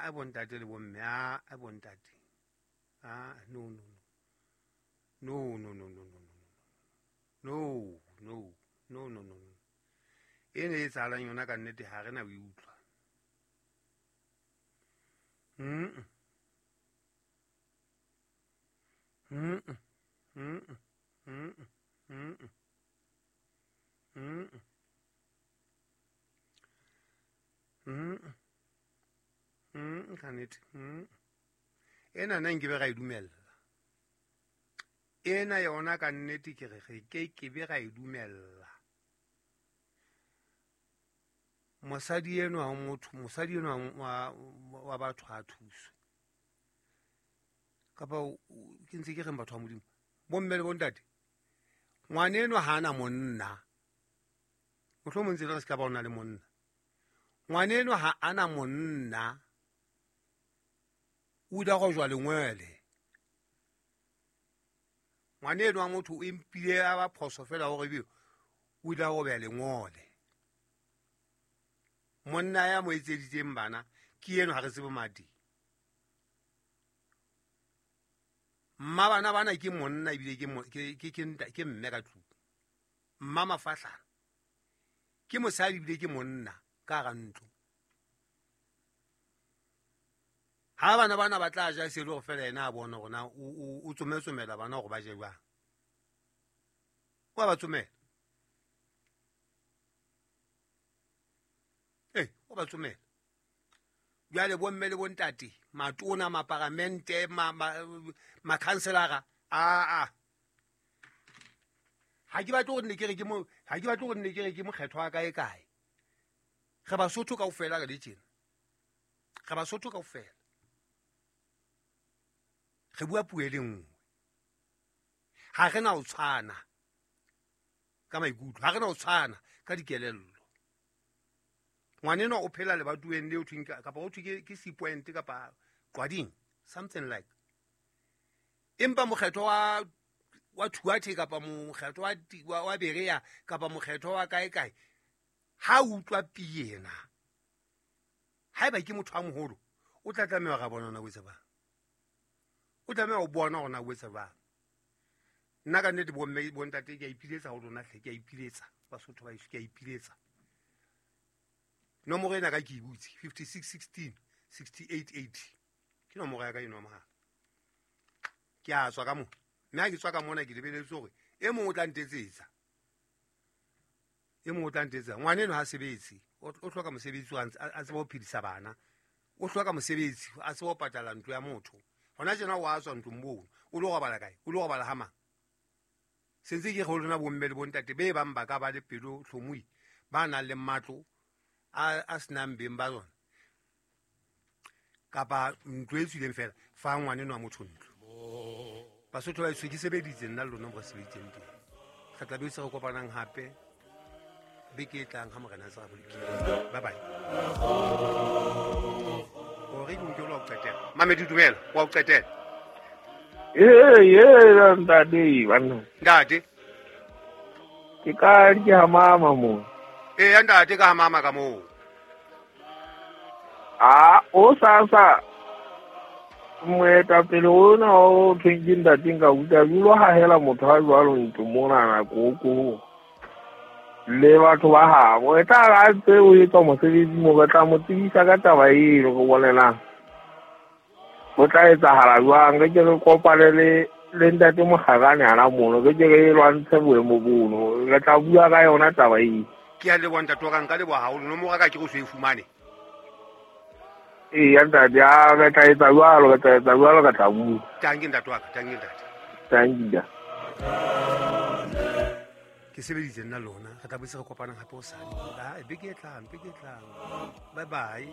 A bontate le bomme, a bontate, a no no no no no no no no no no no no no e ne e tsalang yona ka nnete ha re na o e utlwa. Mm mm mm mm mm mm mm mm ka nnete. Ena nna nkebe ra e dumella ena yona ka nnete, ke re re ke ke be ra e dumella. Mosadi enwa wa motho, mosadi enwa wa batho ha thuswe. Kapa ke ntse ke reng batho ba Modimo, bomme le bontate, ngwana enwa ha ana monna, mohlomong ntse le re se ka ba o na le monna. Ngwana enwa ha ana monna, o ile go jwa lengwele. Ngwana enwa motho o empile a ba phoso fela hore ebe o ile go beha lengole. Monna ya mo etseditseng bana ke eno, ha re tsebe madi. Mma bana bana ke monna ebile ke mme ka tlung. Mma mafahlana ke mosadi ebile ke monna ka hara ntlo. Ha bana bana ba tla ja se le hore fela yena a bona hore na o tsometsomela bana hore ba je jwang. Wa ba tsomela. O ba tsomela. Jwale bomme le bontate, matona, maparamente, makhanselara, a ha ke batle hore nne ke re ke mo, ha ke batle hore nne ke re ke mokgetho wa kae kae. Re Basotho kaofela re le tjena. Re Basotho kaofela. Re bua puo e le nngwe. Ha re na ho tshwana ka maikutlo, ha re na ho tshwana ka dikelello. Ngwanenwa o phela lebatoeng leo thweng kapa ho thwe ke C point kapa Qwading, something like. Empa mokgetho wa Thuathe kapa mokgetho wa Berea kapa mokgetho wa kae kae, ha utlwa pina, haeba ke motho a moholo, o tla tlameha ra bona o etsa bang. O tlameha ho bona hore na o etsa bang. Nna ka nnete bomme bontate ke a ipiletsa ho lona hle, ke a ipiletsa Basotho ba heso, ke a ipiletsa. Nomoro ena ka ke e butse 56 16 68 80 ke nomoro ya ka eno ya mohala. Ke a tswa ka mona, mme ha ke tswa ka mona ke lebeletse hore e mong o tla ntetsetsa, e mong o tla ntetsetsa. Ngwana eno ha sebetse, o hloka mosebetsi a tsebe ho phedisa bana, o hloka mosebetsi a tsebe ho patala ntlo ya motho. Hona tjena o a tswa ntlong mono, o lo robala kae? O lo robala ha mang? Sentse ke re ho lona bomme le bontate be bang ba ka ba le pelo tlhomoi, ba nang le matlo a senang beng ba tsona, kapa ntlo e tswileng fela, fa ngwaneno wa motho ntlo. Basotho ba heso, ke sebeditse nna le lona mo re sebeditseng teng. Re tla be se re kopanang hape beke e tlang ha Morena a se a bolokile. Bye bye. Hore ke nke o lo qetela. Mamedi dumela, wa o qetela. Ee, ntate banna. Ntate. Ke ka ke ha mama mo. Ee, ntate ka ha mama ka moo. A o sa moetapele ona o thweng ke ntate nka utlwa dilo hahela motho ha jwalo ntlo mona nako ko le batho ba habo. E tla ra ntse o etsa mosebetsi mo, re tla mo tsebisa ka taba eno, re bolelang ho tla etsahala jwang. Re ke re kopane le ntate Mokgakane hana mono, re ke re lwantshe boemo bono, re tla bua ka yona taba eo. Ke a leboha ntate wa ka, nka leboha haholo. Nomoro ya ka ke re o so e fumane. Ee, ntate, a re tla etsa jwalo, re tla etsa jwalo, re tla bua. Tanki ntate wa ka, tanki ntate. Tanki. Ke sebeditse nna lona, re tla boetse re kopanang hape hosane. Beke e tlang, beke e tlang. Bye bye.